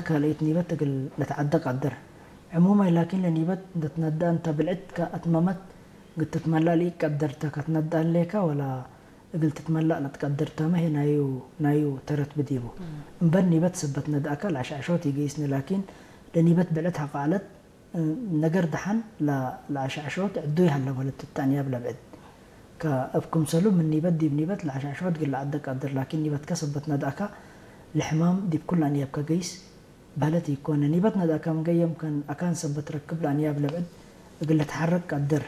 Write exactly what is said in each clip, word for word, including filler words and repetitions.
ካልኢት ኒበት እግል ልትዐደ ቀድር። ዕሙማይ ላኪን ለኒበት እንደ ትነድአ እንተ ብልዕት ከአትመመት እግል ትትመለእ ለኢቀድር ተ። ከትነድአ ህሌከ ወላ እግል ትትመለእ ለትቀድር ተመ ህይ ናዩ፣ ናዩ ተረት ብዲቡ። እምበል ኒበት ሰበት ነድአከ ለአሽዐሾት ኢገይስኒ ላኪን ለኒበት ብዕለት ሐቆ ዐለት። ነገር ደሐን ለ-፣ ለአሽዐሾት ዕዱይ ሀለ ወለት እተ አንያብ ለብዕድ። ከእብ ክምሰሉ ምን ኒበት ዲብ ኒበት ለአሽዐሾት እግል ለዐደ ቀድር ላኪን ኒበትከ ሰበት ነድአከ ለሕማም ዲብ ኩሉ አንያብከ ገይስ በህለት ኢኮነ። ኒበት ነድአከ ምንገ የምከን አካን ሰበት ረክብ ለአንያብ ለብዕድ እግል ልትሐረክ ቀድር።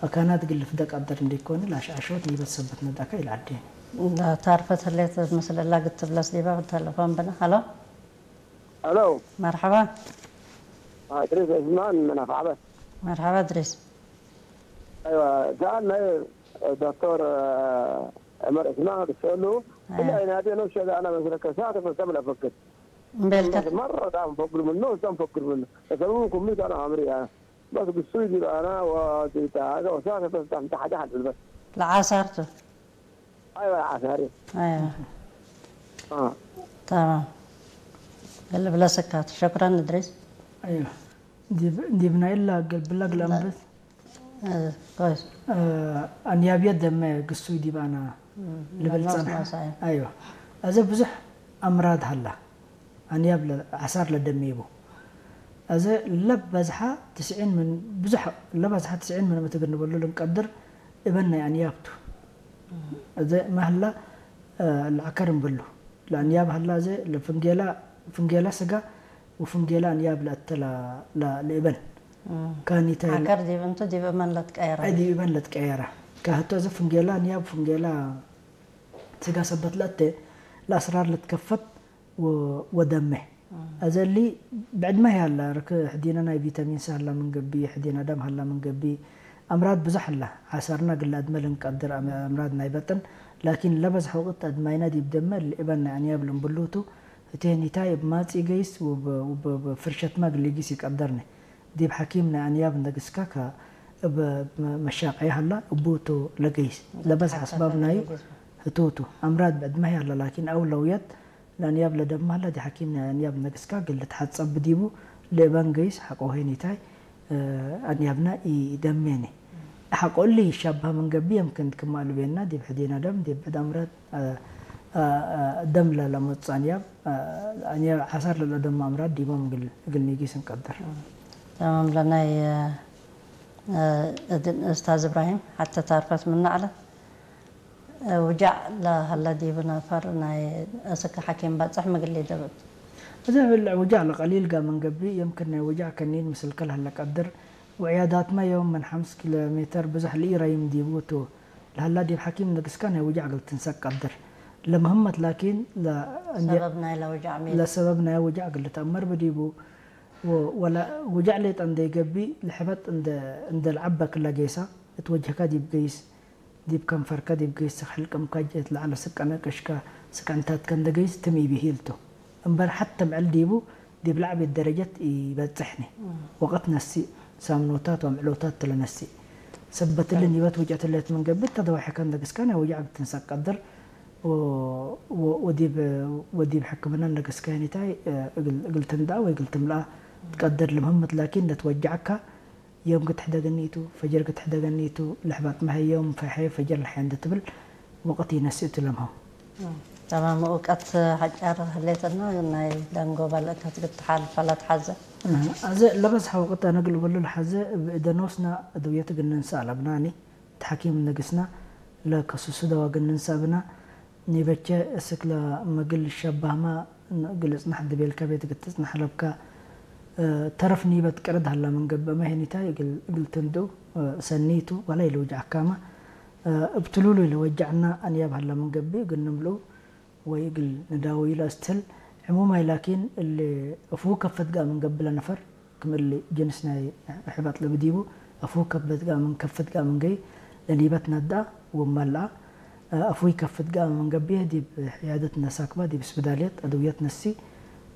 አካናት እግል ልፍደ ቀድር እንዴ ኢኮነ ለአሽዐሾት ኒበት ሰበት ነድአከ ኢለዐዴኒ። ታርፈት ህሌት ምስል እላ ግትብለስ ዲበ ተለፎን ብነ። ሀሎ። ሄሎ። መርሐባ። አ፣ እድሪስ ዑስማን ምን አፍዐበት። መርሐባ እድሪስ። አይዋ፣ ሰኣል ናይ ዶክተር ዑመር ዑስማን ክሰአሉ፣ አያ። እለ አይናቴ ነው ሸገ አነ መስለከ ሳተ ፈሰም ለፈክር። እምቤልከ። በስ መረ ጣም ፈክር ምኑ፣ እዛም ፈክር ምኑ። እሰቡ ኩምት አነ አምሪ፣ አ። በስ ግሱይ ዲብ አነ ወዲብ ሀገ ወሳተ በስ ጣም ተሐደ ሐድ በስ። ለዓሳርቱ። አይዋ፣ ዓሳሪ። አይዋ። አ። ተማም። እግል ብለስካት። ሸክረን እድሪስ። አይዋ። ዲብ፣ ዲብ ናይ እላ እግል ብለግ ለአንብት። እ፣ ኮይስ። እ፣ አንያብየት ደመ ግሱይ ዲብ አነ እም፣ ልብል ለናስ ጸንሐ። ናሳይ። አይዋ። አዘ ብዙሕ አምራድ ሀላ። አንያብ ለ-፣ ዓሳር ለደሜቡ። አዘ ለበዝሐ ትስዒን ምን፣ ብዙሕ ለበዝሐ ትስዒን ምን ምትግር ንበሉ ልንቀድር እበን ናይ አንያብ ቱ። አዘ ማህላ፣ እ፣ ለዐከር እንበሉ። ለአንያብ ሀላ አዘ ለፍንጌላ፣ ፍንጌላ ስጋ ወፍንጌላ አንያብ ለአተ ለ-፣ ለ-፣ ለእበን። እም። ካኒታይ ዐከር ዲብ እንቱ ዲብ እመን ለትቀየረ። አይ ዲብ እበን ለትቀየረ። ከህቶ አዘ ፍንጌላ አንያብ ፍንጌላ ስጋ ሰበት ለአተ ለአስራር ልትከፈት ወ-፣ ወደመ። እም። አዘ እሊ ብዕድመ ህይ ሀላ፣ ርክ ሕዲነ ናይ ቪታሚን ሲ ሀላ ምን ገብእ፣ ሕዲነ ደም ሀላ ምን ገብእ፣ አምራድ ብዙሕ ሀላ። ዓሰርነ እግል ለአድመ ልንቀድር አም-፣ አምራድ ናይ በጥን፣ ላኪን ለበዝሐ ወቅት አድማይነ ዲብ ደመ እሊ እበን ናይ አንያብ ልንብሉቱ፣ ህቴ ኒታይ እብ ማጽኢ ገይስ ወብ-፣ ወብ-፣ ወብ ፍርሸትመ እግል ሊጊስ ይቀደርነ። ዲብ ሐኪም ናይ አንያብ እንደ ግስካ ከ-፣ እብ መ-፣ መሻቀየ ሀላ፣ እቡ ቱ ለገይስ። ለበዝሐ አስባብ ናዩ ህቱ ቱ። አምራድ ብዕድመ ህይ ሀላ፣ ላኪን አውለውየት ለአንያብ ለደመ ሀላ፣ ዲብ ሐኪም ናይ አንያብ እንደ ግስካ እግል ልትሐጸብ ዲቡ፣ ለእበን ገይስ ሐቆ ሄኒታይ፣ እ፣ አንያብነ ኢደሜነ። ሐቆ እሊ ይሻበሀ ምን ገብእ፣ የምክን ክመ አልቤና፣ ዲብ ሕዲነ ደም፣ ዲብ ብዕድ አምራድ፣ እ፣ እ፣ እ፣ ደም ለለመጹ አንያብ፣ እ፣ አንያብ ዓሳር ለለደሙ አምራድ ዲቦም እግል፣ እግል ኒጊስ እንቀድር። ተማም። ለናይ፣ እ፣ እድን ኡስታዝ እብራሂም ሐቴ ታርፈት ምነ ዐለት። ውጃዕ ለሀለ ዲብ ነፈር ናይ እስክ ሐኪም በጽሕ ምግል ኢደብጥ። እዘ ብልዕ ውጃዕ ለቀሊል ጋር ምን ገብእ፣ የምክን ናይ ውጃዕ ከኒን ምስልከ ለሀለ ቀድር፣ ወዕያዳትመ የውም ምን ሐምስ ኪሎ ሜተር ብዞሕ ለኢረይም ዲቡ ቱ። ለሀላ ዲብ ሐኪም ነግስከ ናይ ውጃዕ እግል ትንሰቅ ቀድር። ለምህመት ላኪን ለ-፣ እንዴ-፣ ሰበብ ናይ ለውጃዕ ሚ? ለሰበብ ናይ ውጃዕ እግል ልትአመር ብዲቡ፣ ወ-፣ ወለ ውጃዕ ሌጠ እንዴ ገብእ፣ ለሕበጥ እንደ፣ እንደ ለዐበ ክለ ጌሳ፣ እት ወጅህከ ዲብ ገይስ፣ ዲብ ከንፈርከ ዲብ ገይስ፣ ስክ ሕልቅምከ ጀት ለዐለ ስቀነ ቅሽከ፣ ስቀንታትከ እንደ ገይስ ትም ኢብሂል ቱ። እምበል ሐተ ምዕል ዲቡ ዲብ ለዐቤት ደረጀት ኢበጽሕኒ። እም። ወቅት ነስእ፣ ሳምኖታት ወምዕሎታት ተ ለነስእ። ሰበት እሊ እም። ኒበት ውጅአት ህሌት ምን ገብእ፣ ተደዋሕከ እንደ ግስከ ናይ ውጃዕ እግል ትንሰቅ ቀድር። ወ-፣ ወ-፣ ወዲብ፣ ወዲብ ሕክምና እንደ ግስከ ኒታይ፣ እግል፣ እግል ትንድአ ወእግል ትምልአ ትቀድር። ለምህምት ላኪን ለትወጀዐከ ዮም ግትሕደገኒ ቱ፣ ፈጀር ግትሕደገኒ ቱ፣ ለሕባጥመ ሀይ ዮም ፈሐ ፈጀር ለሐ እንዴ ትብል ወቅት ኢነስእ ቱ ለምህም። እም፣ ተማም። እውቀት ሐጫር ህሌትና ናይ ደንጎበል እከት ግትሓልፈ ለትሐዘ። እህ፣ አዜ ለበዝሐ ወቅት አነ እግል እበሉ ለሐዘ እብ እደ ኖስና አድውየት እግል ንንሰእ አለብናኒ። እት ሐኪም ነግስና ለከሱሱ ደዋ እግል ንንሰእ ብና። ኒበቼ እስክ ለመግል ሸባህመ እግል እጽናሕ ድቤልከ ቤት እግል ትጽናሕ አለብከ። እ፣ ተረፍ ኒበት ቅርድ ሀላ ምን ገብአመ ሄኒታይ እግል፣ እግል ትንድኡ፣ እ፣ ሰኒ ቱ ወላ ኢልውጅዐካመ። እ፣ እብ ትሉሉይ ለወጀዐና አንያብ ሀላ ምን ገብእ እግል ንምልኡ ወይ እግል ንዳወዩ ለአስትህል። ዕሙማይ ላኪን እሊ እፉ ከፈት ገአ ምን ገብእ ለነፈር ክም እሊ ጅንስ ናይ ሕበጥ ለብዲቡ፣ አፉ ከፈት ገአ ምን ከፈት ገአ ምን ገይ ለኒበት ነድአ ወመልአ፣ አፉይ ከፈት ገአ ምን ገብእ ዲብ ዕያደት ነሳክባ፣ ዲብ ስብዳልየት አድውየት ነሲ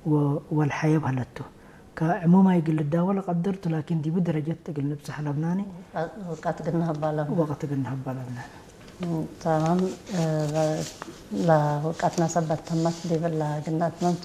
ወ-፣ ወልሐየብ ሀለቱ። ከዕሙማይ እግል ልዳወ ለቀድር ቱ፣ ላኪን ዲቡ ደረጀት እግል ንብጽሕ አለብናኒ። ወቀት እግል ነሀባ አለብና። ወቀት እግል ነሀባ አለብናኒ። እም፣ ተማም። እ፣ ለ-፣ ለውቀትነ ሰበት ተመት ዲብለ ግነት መንቱ።